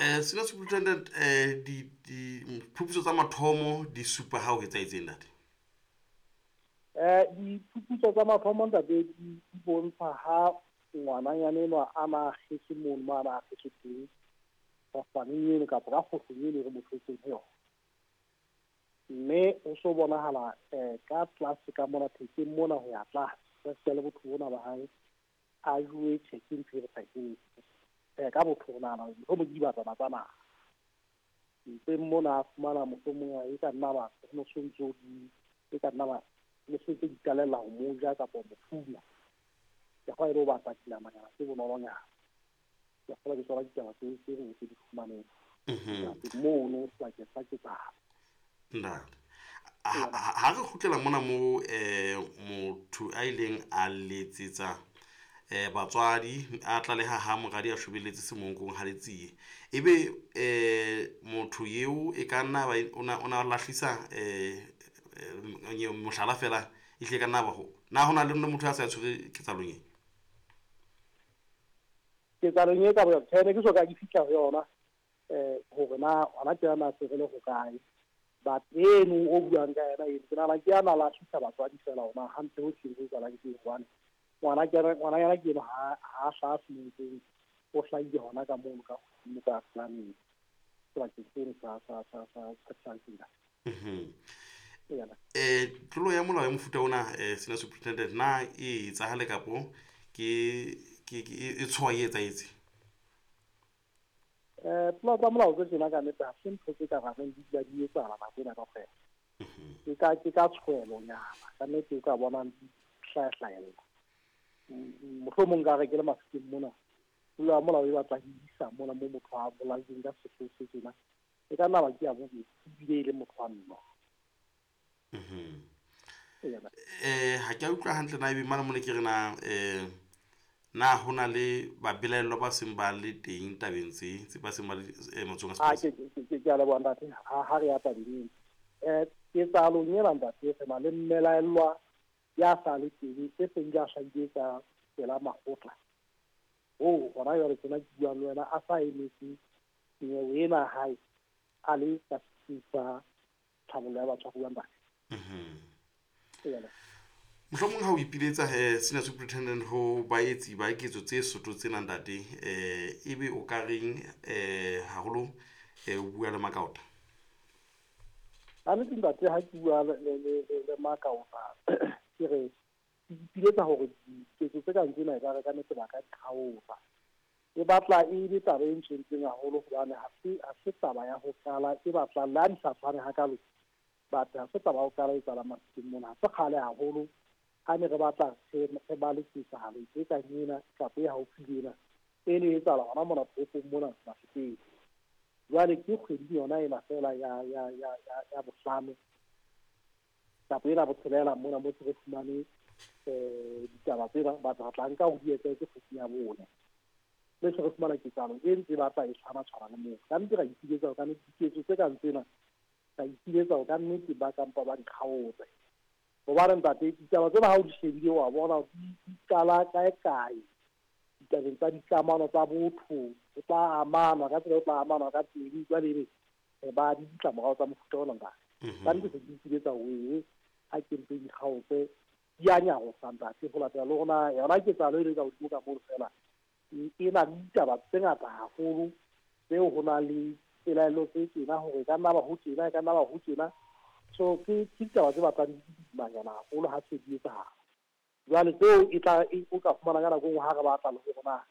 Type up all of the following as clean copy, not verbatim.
Senior Superintendent, diphuputso tsa mathomo di supa ha ho etsahetseng, ntate? Diphuputso tsa mathomo, ntate, di bontsha ha ngwananyana enwa a na akgetswe mono mo a na akgetswe teng, kgohlaneng eno kapa ka kgohlong eno e re mo thotseng ho yona. Mme ho so bonahala ka tlase ka mona thekeng mona ho ya tlase, ka sita le botho bona ba hae a jowe tjhe ke ntho e re sa e ka botho re nahana mohlomong ke dibatana tsa naha. Mpeng mona a fumana mohlomong e ka nna ba ho no sontso di e ka nna ba le setse di qalella ho mo ja kapa ho mo fula. Ke kgwa e le ho batla dinamanyana tse bonolonyana. Ke kgolwa ke tsona ditaba tse re tse di fumaneng mono sebakeng sa ketsahalo. Ntate, ha re kgutlela mona mo motho a ileng a letsetsa batswadi a tlaleha ha moradi a shobelletse semonkong ha letsie, ebe motho eo e ka nna ba o na lahlisa mohlala fela, ehlile ka nna ba ho na ho na le motho a sa tshwere ketsahalong e? Ketsahalong e ka boya tjhe, ne ke so ka ke fihla ho yona hore na hona tjena na se re le hokae. But eno o buang ka yena eno, ke nahana ke a na lahlisa batswadi fela hona hantle ho hlile ho etsahalang ke hobane ngwananyana ke eno ha hlaha semonkong, o hlahile hona ka mono ka hodimo ka planeng sebakeng seno sa tsela. Tlolo ya molao ya mofuta ona, Senior Superintendent, na e etsahale kapo ke e tshoha e etsahetse? Tlolo tsa molao tse tjena ka nnete ha se ntho tse ka rareng di dula di etsahala nako ena kaofela. Ke ka tshwelonyana ka nnete o ka bonang di hlayahlahella. Mohlomong nka re ke le Mafikeng mona, tlolo ya molao e batla e isa mona mo motho a bolailweng ka sehloho se tjena, e ka nna ba ke ya bobedi ebile e le motho wa mme. Ha ke a utlwa hantle na ebe mane mona ke re na na ho na le babelaellwa ba seng ba le teng tabeng tse ba seng ba le matsohong a sepolesa? Ke a leboha ntate, ha re ya tabeng eno. Ketsahalong ena ntate, re na le mmelaellwa ya sa le teng e seng ya hlahile ka pela makgotla. Hoo hona jwale tjena ke buang le wena a sa emetse nyewe ena hae a le ka setsing sa tlhabollo ya batshwaruwa ntate. Mohlomong ha o ipiletsa Senior Superintendent ho baetsi ba ketso tse soto tsena ntate, ebe o ka reng haholo o bua le makaota? Ka nnete ntate, ha ke bua le makaota, ke re ke ipiletsa hore diketso tse kang tsena ekare ka nnete ba ka di kgaotsa. E batla e le taba e ntshwentseng haholo hobane ha se taba ya ho qala, e batla le ha di sa tshwane hakalo, but ha se taba ya ho qala e etsahalang Mafikeng mona. Ha se kgale haholo ha ne re batla re ba le ketsahalo e kang ena kapa e haufi le ena, e ne e etsahala hona mona toropong mona Mafikeng. Jwale ke kgwedi yona ena fela ya bohlano kapa ena botshelela mona mo se re fumane ditaba tsena, batho re tla nka ho di etsahetse kgweding ya bone. Le se re fumana ketsahalo e ntse e batla e tshwana tshwana le moo. Ka nnete ra ipiletsa hore ka nnete diketso tse kang tsena, ra ipiletsa hore ka nnete ba kampa ba di kgaotse. Hobane ntate, ditaba tsena ha o di shebile wa bona di qala kae kae ditabeng tsa dikamano tsa botho, ho tla amanwa ka tsela e tla amanwa ka teng, jwale ebe re ba di ditlamorao tsa mofuta ona ntate. Ka nnete se ke ipiletsa hore ha ke mpe di kgaotse, di a nyarosa ntate, ho latela le rona yona ketsahalo e le ka hodimo ka mono fela e na le ditaba tse ngata haholo tseo ho na le pelaelo tse tjena hore e ka nna ba ho tjena, e ka nna ba ho tjena. So ke ditaba tse batlang di boimanyana haholo ha se di etsahala. Jwale tseo e tla o ka fumana ka nako e nngwe ha re batla le hore na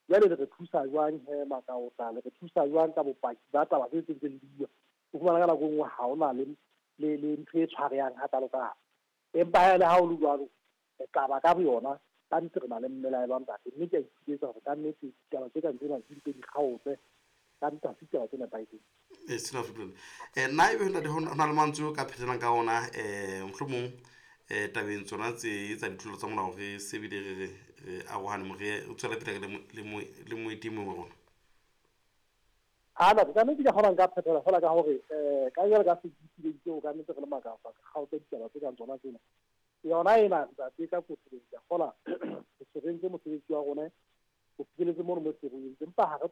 jwale le re thusa jwang he makaota, le re thusa jwang ka bopaki ba taba tse ntseng di bua. O fumana ka nako e nngwe ha hona le ntho e tshwarehang hakalo-kalo. Empa ha le ha ho le jwalo, taba ka boyona ka nnete re na le mmelaelwa ntate, mme ke a ipiletsa hore ka nnete ditaba tse kang tsena di mpe di kgaotse. Ka nnete ha se ditaba tse nepahetseng. Sena nna ebe ntate ho na le mantswe o ka phetelang ka ona, mohlomong tabeng tsona tse tsa ditlolo tsa molao re se bile re arohane mo re tswela pele le moeti mong wa rona. Ha na ka nnete ke kgona nka phethela fela ka hore ka jwale ka se ipileditse ho ka nnete re le makafa kgaotse ditaba tse kang tsona tsena. Yona ena ntate ka kotloloho ke a kgola re se re entse mosebetsi wa rona ho fihlelletse mono mo se re entse, empa ha re